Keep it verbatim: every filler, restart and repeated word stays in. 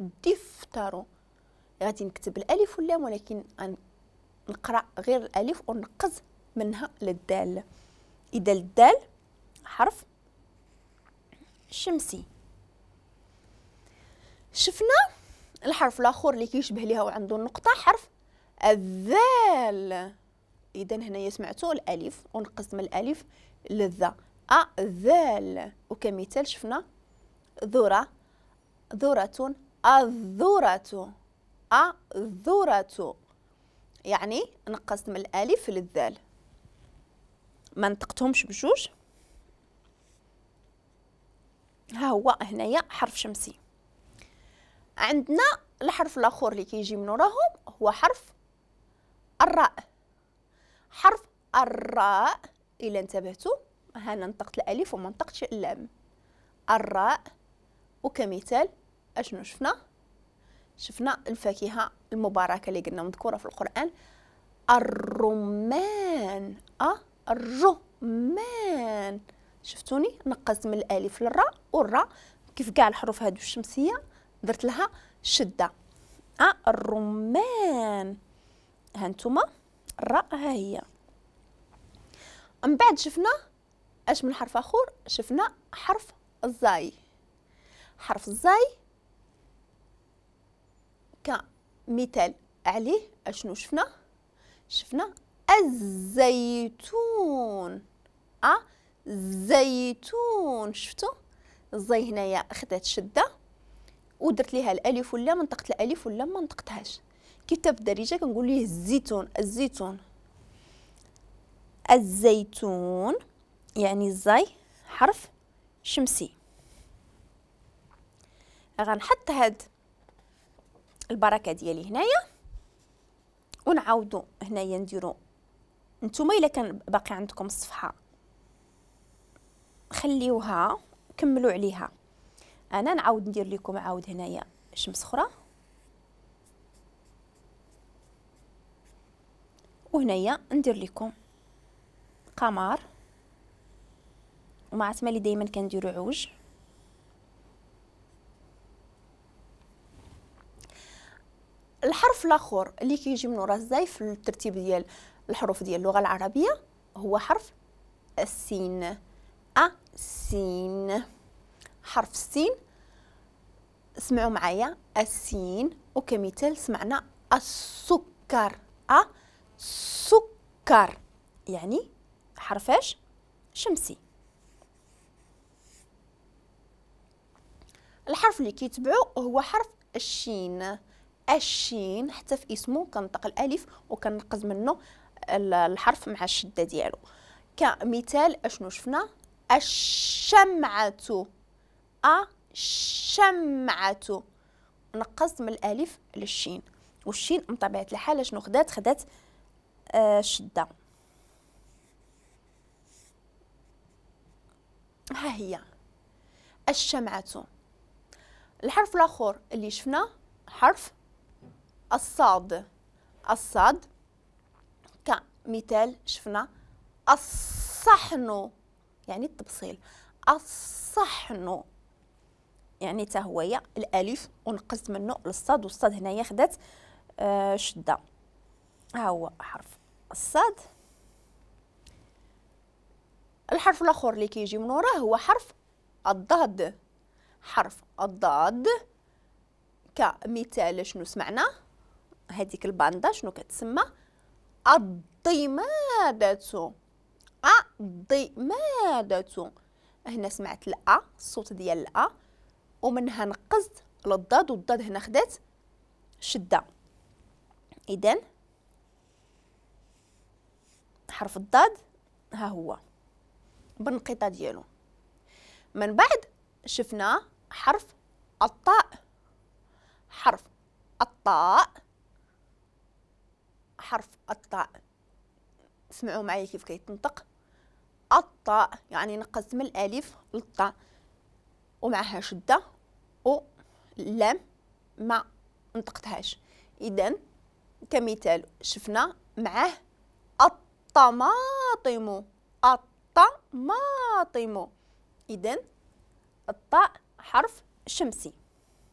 الدفتر. غادي نكتب الالف واللام ولكن نقرا غير الالف ونقز منها للدال. اذا الدال حرف شمسي. شفنا الحرف الاخر اللي كيشبه ليها وعنده النقطة حرف الذال. اذا هنايا سمعتوا الالف ونقزت من الالف للذا، الذال. وكمثال شفنا ذره، ذره، الذرة، الذرة، يعني نقصت من الالف للذال، ما نطقتهمش بجوج. ها هو هنايا حرف شمسي. عندنا الحرف الاخر اللي كيجي من وراهم هو حرف الراء. حرف الراء الا انتبهتوا هنا نطقت الالف وما نطقتش اللام، الراء. وكمثال اشنو شفنا؟ شفنا الفاكهة المباركة اللي قلنا مذكورة في القران، الرمان، الرمان. شفتوني نقصت من الالف للراء، والراء كيف كاع الحروف هادو الشمسية درت لها شده، الرمان. ها نتوما الراء ها هي. من بعد شفنا اش من حرف اخر؟ شفنا حرف الزاي. حرف الزاي كمثال عليه اشنو شفنا؟ شفنا الزيتون، الزيتون. شفتوا الزي هنايا خدات شده ودرت ليها الالف واللام، نطقت الالف واللام ما نطقتهاش. كيف في الدارجة كنقول ليه الزيتون، الزيتون، الزيتون، يعني الزاي حرف شمسي. غنحط هاد البركة ديالي هنايا ونعاودو هنايا نديرو. نتوما الا كان باقي عندكم الصفحة خليوها كملوا عليها، انا نعاود ندير لكم عاود هنايا شمس اخرى، وهنايا ندير لكم قمر، ومع تمالي دائما كنديرو عوج. الحرف الاخر اللي كيجي من ورا الزاي في الترتيب ديال الحروف ديال اللغة العربية هو حرف السين، السين. حرف السين اسمعوا معايا السين، وكمثال سمعنا السكر، السكر، يعني حرفاش شمسي. الحرف اللي كيتبعو هو حرف الشين. الشين حتى في اسمه كنطق الالف وكنقز منه الحرف مع الشدة ديالو. كمثال اشنو شفنا؟ الشمعة، الشمعة، نقصت من الالف للشين، والشين من طبيعة الحال شنو خدات؟ خدات آه الشدة. ها هي الشمعة. الحرف الاخر اللي شفنا حرف الصاد. الصاد كمثال شفنا الصحن، يعني التبصيل، الصحن، يعني تا هو الالف ونقصت منه للصاد، والصاد هنايا خدات آه شده. ها هو حرف الصاد. الحرف الاخر اللي كيجي من وراه هو حرف الضاد. حرف الضاد كمثال شنو سمعنا؟ هذيك الباندا شنو كتسمى؟ الضمادة، الضمادة. هنا سمعت الأ، الصوت ديال الأ، ومنها نقزت للضاد، والضاد هنا خدات شدة. إذن حرف الضاد ها هو بالنقيطة ديالو. من بعد شفنا حرف الطاء. حرف الطاء، حرف الطاء سمعوا معايا كيف كيتنطق الطاء، يعني نقصت من الالف للطاء ومعها شده واللام ما نطقتهاش. اذا كمثال شفنا معاه الطماطم، الطماطم. اذا الطاء حرف شمسي.